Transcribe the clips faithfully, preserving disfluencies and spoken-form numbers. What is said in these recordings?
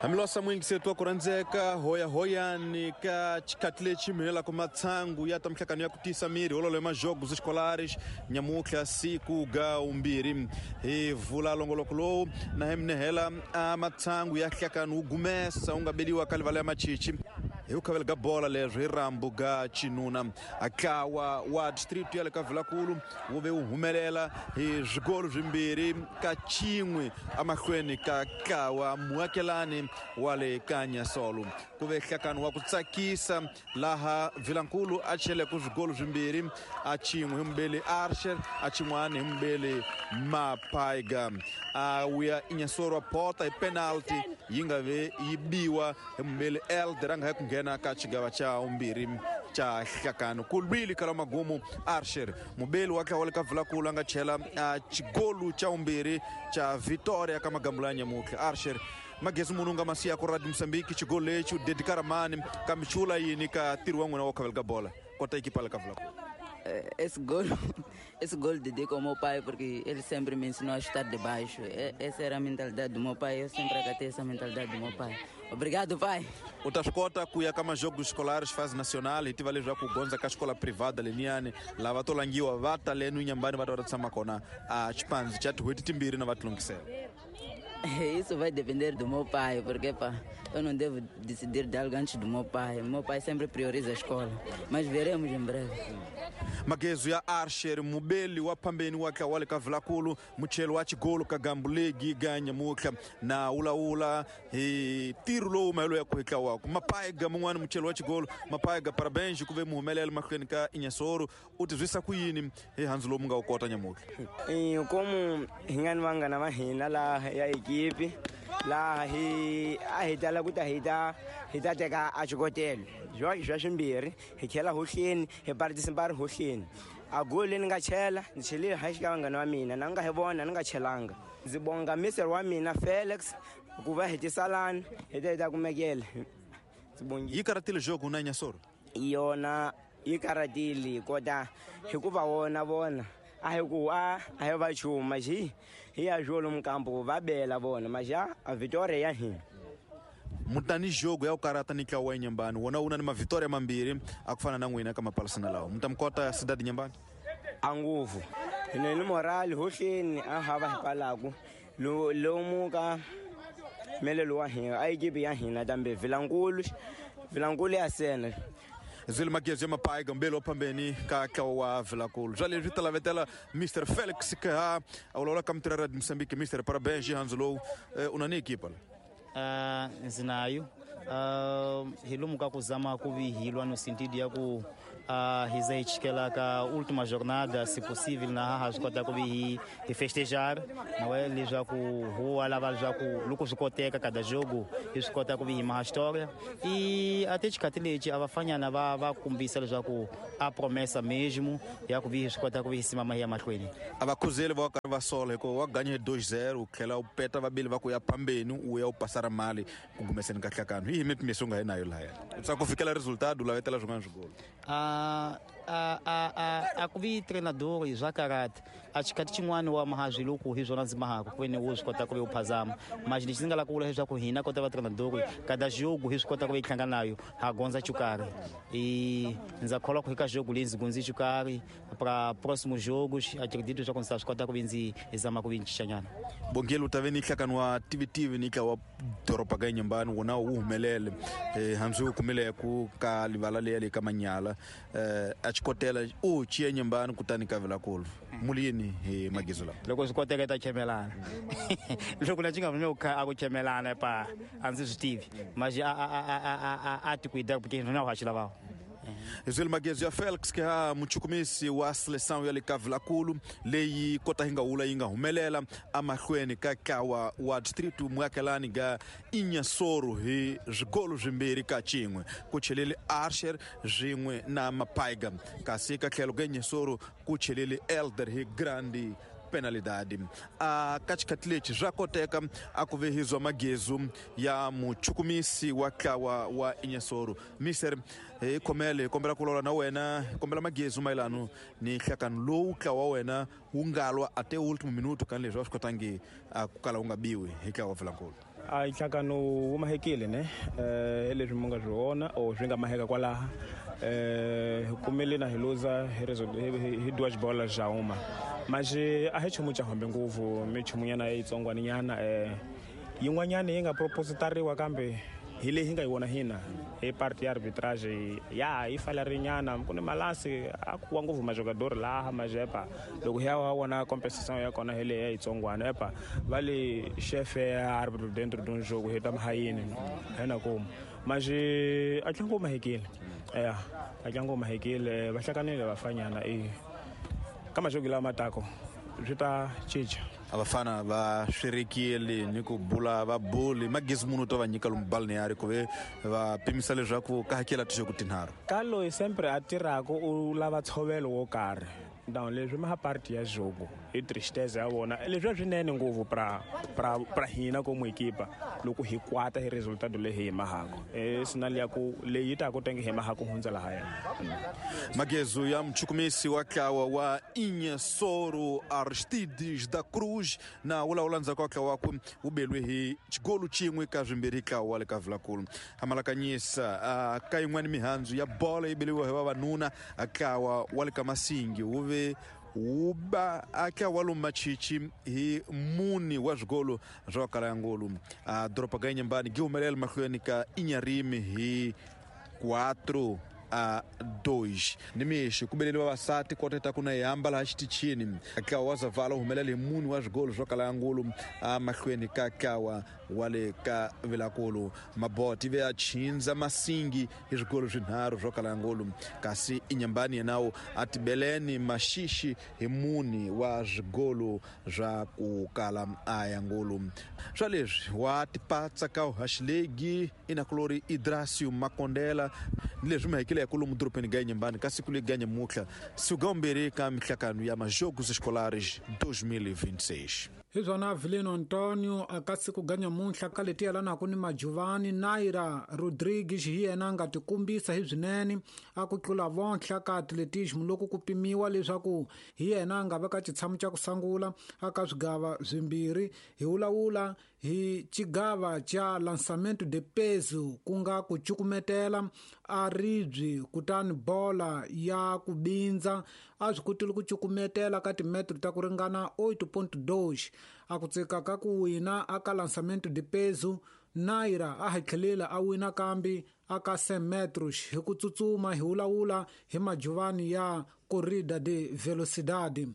Hamilosa mwingi setu wa kuranzeka hoya hoyani ka xikhathi lexi mihelaka matsangu ya ta mihlangano ya ku tisa miri hololo ya majogos escolares nyamutlha siku ga umbirhi hi vula longoloko lowu na hi minehela a matsangu ya nhlakano wu gumesa wu nga beliwa ka livala ya machichi hi ku khavela ga bola leswo hi rambu ga chinuna a tlawa wa district ya le ka Vilakulu wu ve wu humelela hi swigolo swimbirhi ka xin'we emahlweni ka tlawa muakelani wa le ka Nyasolo ku ve nhlakano wa ku tsakisa laha Vilankulu a cheleke swigolo swimbirhi a xin'we hi mubeli Archer a xin'wana hi mubeli Mapaiga a wuya Inyasoro pota hi penalty yi nga ve yi biwa hi mubeli Elder a nga hi ku nghena ka xigava xa vumbirhi xa nhlakano ku lwile kala magumu Archer mubeli wa tlawa le ka Vilakulu a nga chela xigolu xa vumbirhi xa Victoria ka magambula ya nyamutlha Archer magezi munhu nga masiya ku Radio Mozambique xigolo lexi u dedikara mani kambe xula yini ka ntirho wa n'wina wa khavela ka bola kota ekipa le ka Vilakulu. Esse gol, esse gol dedico ao meu pai porque ele sempre me ensinou a chutar de baixo. Essa era a mentalidade do meu pai, eu sempre acatei essa mentalidade do meu pai. Obrigado, pai. U ta swi kota ku ya ka majogos escolares fase nacional hi tiva leswaku gondza ka xikola privada leniyani lava to langiwa va ta lenu nyambani va ta va ta tshama kona a xipandzi xa tin'hweti timbirhi na va tilunghisela. Isso vai depender do meu pai, porque pá, eu não devo decidir de algo antes do meu pai. Meu pai sempre prioriza a escola, mas veremos em breve. Magezu ya Archer mubeli wa pambeni wa tlawa le ka Vilakulu muchelo wa xigolo ka Gambulegi ga nyamutlha na ulaula hi ntirho lowu mahelo ya ku hi tlawaka Mapaiga mun'wana muchelo wa xigolo Mapaiga parabéns ku ve mu humelela mahlweni ka Inyasoro u tizwisa ku yini hi handzu lowu mu nga wu kota nyamutlha. Como hi nga ni vanghana va hina laha ya ekipi laha hi a hi tala ku ta hi ta hi ta teka a xikotelo swa swimbirhi hi khela hohleni hi participar hohleni a goli ni nga chela ni chelile ha xika vanghana va mina na nga hi vona ni nga chelanga ndzi bonga mister wa mina Felix ku va hi tisalani hi ta hi ta kumekela ndzi bongile. Yi karatile jogo na Inyasoro yona yi karatile kota hikuva wona vona a hi ku a a hi va chuma xi hi ya jolo mukambo va bela vona maxa a Victoria ya hina mutani jogo ya ku karata ni tlawa wa Nyambani wona wu na ni mavitoria mambirhi a ku fana na n'wina ka mapalisana lawa mutamkota Cidade Nyambani a nguvu ni ni morali hohleni a hava hi palaku lomu ka melelo wa hina a ekipi ya hina tambe Vilankulu Vilankulu ya sena Zwile magezi ya Mapaiga mbele wa pambeni ka tlawa wa Vilakulu swa leswi talavetela Mister Felix ka a vulavula ka mutirhi Radio Mozambique. Mister parabéns handzu lowu u na ni ekipa la. Uh, zinayo uh, hi lomu ka kuzama kuvihilwa no sentido ya ku uh, hiza ka última jornada se possível na ha swi kota ku vi hi festejar não é leswaku huwa lava leswaku loko swi koteka kada jogo hi swi kota ku vi hi maha história e até xikhathi lexi a vafanyana va va kumbisa leswaku a promessa mesmo ya ku vi hi swi kota ku vi hi simama hi ya mahlweni. A va khuzeli va karhi va sola hikuva wa ganye dois zero u tlhela u peta vabili va ku ya phambeni u ya u pasara mali ku gumeseni ka nhlakano hi mipimiso nga hi nayo lahaya swa ku fikela resultado u lavetela swin'wana swigolo. A a a a ku vi treinador swa karate a xikhathi xin'wana wa maha loko hi swona ndzi mahaka ku veni wo swi kota ku vi u phazama mas lexi ndzi nga lava ku vula leswaku hina kota va treinador kada jogo hi swi kota ku vi hi tlanga nayo ha gondza xo karhi e ndza kholwa ku hi ka jogo leyi ndzi gondzi xo karhi para próximos jogos acredito leswaku ndzi ta swi kota ku vi ndzi hi zama ku vi ncincanyana. Bongile u ta ve ni nhlakano wa tivitivi ni tlawa doroba ka Nyambani wona wu humelele eh hambi wu kumile ku ka livala leya le ka manyala eh a xikotela u chiya Nyambani kutani ka Vilakulu mulini hi magizo lawa loko swi koteka ta chemelana loko na xi nga vumi ku a ku chemelana pa a ndzi swi tivi mas a a a a a ti cuidar porque não acho lava. Zwile magezo ya Felix ka muchukumisi wa seleção ya le ka Vilakulu leyi kota hi nga wula yi nga humelela amahlweni ka tlawa wa district muakelani ga Inyasoro hi swigolo swimbirhi ka xin'we ku chelele Archer swin'we na Mapaiga kasi ka tlhelo ka Inyasoro ku chelele Elder hi grande penalidade. A ka xikhathi lexi swa koteka a ku vehizwa magezu ya muchukumisi wa tlawa wa Inyasoro. Mister hi khomele hi kombela ku lola na wena hi kombela magezu mayelano ni nhlakano lowu tlawa wa wena wu nga lwa ate último minuto ka leswi a swi kotangi ku kala wu nga biwi hi tlawa wa Vilankulu. A nhlangano wu mahekile ne eh leswi mi nga swi vona or swi nga maheka kwalaha eh hi kumile na hi luza hi hi duas bolas já uma mas a hi chumu cha hambe ngopfu mi chumunyana yitsongwaninyana eh yin'wanyana yi nga propositariwa kambe hi leyi hi nga yi vona hina hi parti ya arbitrage ya yi falarinyana ku ni malasi a ku wa ngopfu majogador laha majepa loko hi ya wa vona compensation ya kona hi leyi ya yitsongwana epa va le chefe ya arbitro dentro de un jogo hi ta mahayini hina kuma mas a tlangu mahekile ya a tlangu mahekile va hlanganile vafanyana e ka majogo lama matako swi ta cinca. Abafana va swirekile ni ku bula va buli magezi munhu to va nyika lomu balneário ku ve va pimisa leswaku ka hakela tixo ku tinharhu ka loyi sempre a tirhaka u lava ntshovelo wo karhi então leswi ma parti ya jogo i tristeza ya vona leswi a swinene ngopfu pra pra pra hina como equipa loko hi kwata hi resultado leyi hi mahako e sinal ya ku leyi ta ku tenge hi mahako hundza lahaya. Magezu ya mchukumisi wa tlawa wa Inhassoro Aristides da Cruz na wulawula ndzhaku ka tlawa wakwe wu belwe hi xigolu xin'we ka swimbirhi tlawa wa le ka Vilakulu. Hamalakanyisa ka yin'wana mihandzu ya bola yi beliwa hi vavanuna tlawa wa le ka Masingi wu ve wu ba a tlawa lomu Machichi hi muni wa swigolo swa kala ya ngolu. A doroba ga Inhambane gi humelela mahlweni ka Inharime hi quatro a dois. Nimixo ku beleliwa vavasati kota ta ku na hamba laha xitichini tlawa wa Zavala humelela hi muni wa swigolo swo kala ya ngulu a mahlweni ka tlawa wa le ka Vilakulu. Maboti ve a chinza Masingi hi swigolo swinharhu swo kala ya ngulu kasi Inhambane yenawo a tibeleni Maxixi hi muni wa swigolo swa ku kala a ya ngulu. Swa leswi wa tipatsa ka uhaxilegi inakulori Idrasio Makondela ni leswi mahekile ya kulumu dorobeni ga Inhambane ka siku leri ga nyamutlha siku ga vumbirhi ka mihlangano ya Majogos Escolares dois mil e vinte e seis. Hi swona Avelino Antonio a ka siku ga nyamuntlha ka leti yelanaka ni Majuvani Naira Rodrigues hi yena a nga tikombisa hi swinene a ku tlula vontlha ka atletismo loko ku pimiwa leswaku hi yena a nga veka xitshamo xa ku sungula a ka swigava swimbirhi hi vulavula hi xigava xa lançamento de peso ku nga ku cukumetela a ribye kutani bola ya ku bindza a swi kotile ku cukumetela ka timetro ta ku ringana oito ponto dois a ku tsika ka ku wina a ka lançamento de peso Naira a hatlhelela a wina kambe a ka cem metros hi ku tsutsuma hi vulavula hi majuvani ya corrida de velocidade.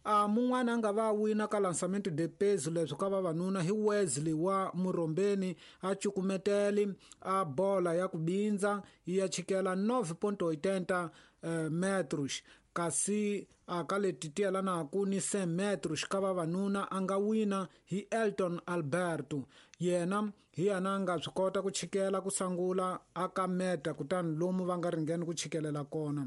A mun'wana a nga va wina ka lançamento de peso leswi ka vavanuna hi Wesley wa Murombeni a cukumetele a bola ya ku bindza ya chikela nove ponto oitenta metros kasi a ka leti ti yelanaka ni cem metros ka vavanuna a nga wina hi Elton Alberto yena hi yena a nga swi kota ku chikela ku sungula a ka meta kutani lomu va nga ringeni ku chikelela kona.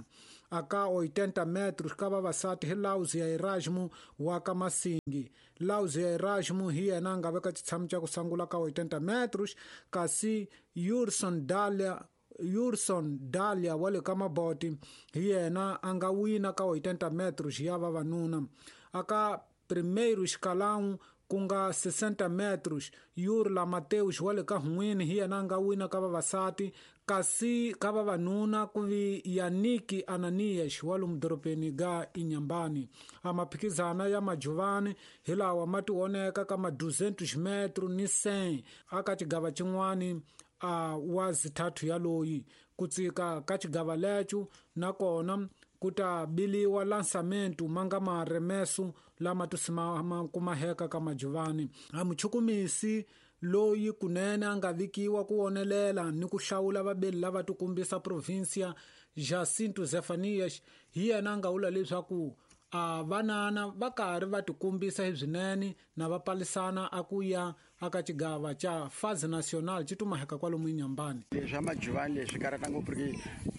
A ka oitenta metros ka vavasati hi Lauzia Erasmo wa ka Masingi. Lauzia Erasmo hi yena a nga veka xitshamo xa ku sungula ka oitenta metros kasi Yurson Dalia Yurson Dalia wa le ka Maboti hi yena a nga wina ka oitenta metros ya vavanuna. A ka primeiro escalão ku nga sessenta metros Yurla Mateus wa le ka Hun'wini hi yena a nga wina ka vavasati kasi ka vavanuna ku vi Yannick Ananias wa lomu dorobeni ga Inhambane. A maphikizana ya majuvani hi lawa ma tioneka ka ma duzentos metro ni cem a ka xigava xin'wani a wa zithathu ya loyi ku tsika ka xigava lecho nakona ku ta biliwa lançamento ma nga maremeso lama tusimama kumaheka ka majuvani. A muchukumisi loyi kunene a nga vikiwa ku wonelela ni ku hlawula vabeli lava tikombisa provincia Jacinto Zefanias hi yena a nga vula leswaku a vanana va karhi va tikombisa hi swinene na va palisana a ku ya aka xigava xa Fase Nacional xi tumaheka kwalomu Inhambane. Leswi majuvani leswi karata ngopfu porque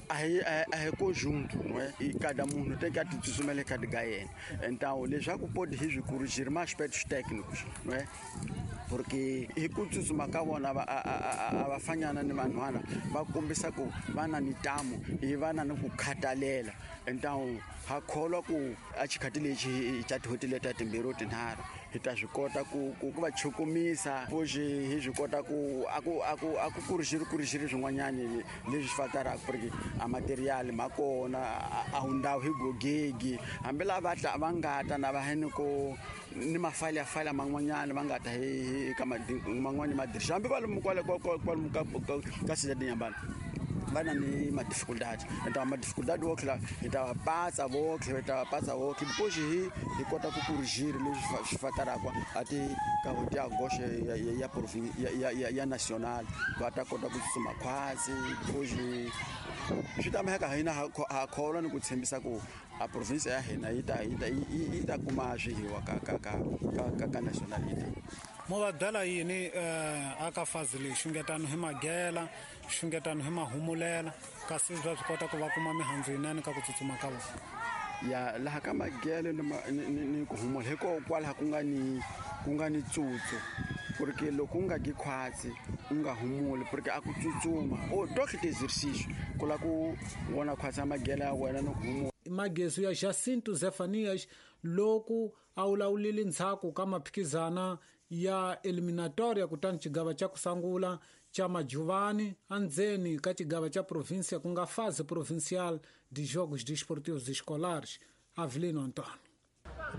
a hi a hi conjunto não é e cada munhu tem que a tsutsumela ka ga yena então leswaku pode hi swi corrigir mais aspectos técnicos não é Porque hi ku tsutsuma ka vona va a va fanyana ni vanhwana va kombisa ku va na nitamu hi va na ni ku khatalela. Então ha kholwa ku a xikhati lexi xa tihoti leta timbirhi tinharhu hi ta swi kota ku ku va chukumisa fuxi hi swi kota ku a ku a ku a ku kurixiri kurixiri swin'wanyani leswi swi fataraka porque a material ma kona a wu ndhawu hi gogegi hambi lava va nga ta na va heni ko ni mafalafala man'wanyana va nga ta hi ka man'wani madirisha hambi va lomu kwale kwalomu ka ka Cidade de Inhambane va na ni ma-dificuldade. Então a dificuldade wo tlhela hi ta va patsa votlhe hi ta va patsa votlhe depois hi hi kota ku corrigir leswi swi fataraka a ti ka hoti ya goxe ya ya ya ya ya national va ta kota ku tsutsuma khwatsi depois swi ta mhaka hina ha kholwa ni ku tshembisa ku a province ya hina yi ta yi ta yi ta kuma swihiwa ka ka ka ka ka national yi ta mo va byela yini aka fazi leyi xungetano hi magela xungetano hi mahumulela kasi bya swi kota ku va kuma mihandzu yinene ka ku tsutsuma ka vona ya laha ka magele ni ni ku humula hikokwalaho ku nga ni ku nga ni tsutsu porque loko u nga gi khwatsi u nga humuli porque a ku tsutsuma o tohle ti-exercício ku la ku vona khwatsi ya magele ya wena ni ku humula. Magesu ya Jacinto Zefanias loku a wulawulile ndzhaku ka maphikizana ya eliminatoria kutani xigava xa ku sungula xa Majuvani andzeni ka xigava xa província ku nga fase provincial de jogos desportivos escolares. Avelino Antônio.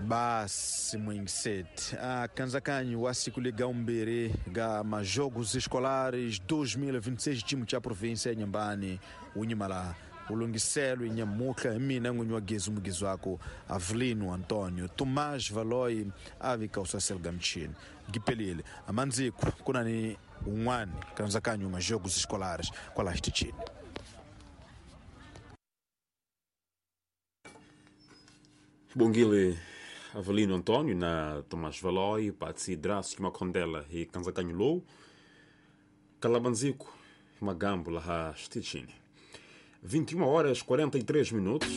Basi mwingiset a kanzakanyi wa siku ligaumbiri ga majogos escolares dois mil e vinte e seis time cha província ya Inhambane unyimala ulungiselo inyamuka mina n'winyi wa gezi mugizi wako Avelino Antônio Tomás Valoi avika usasel gamchini gipelile amandziko kuna ni un'wana kanzakanyi majogos escolares kwala xitichini. Bongile Avelino Antônio na Tomás Valoi Patsi Drácio Macondela e kanzakanyi lowu kalabandziko magambo laha xitichini. vinte e uma horas e quarenta e três minutos.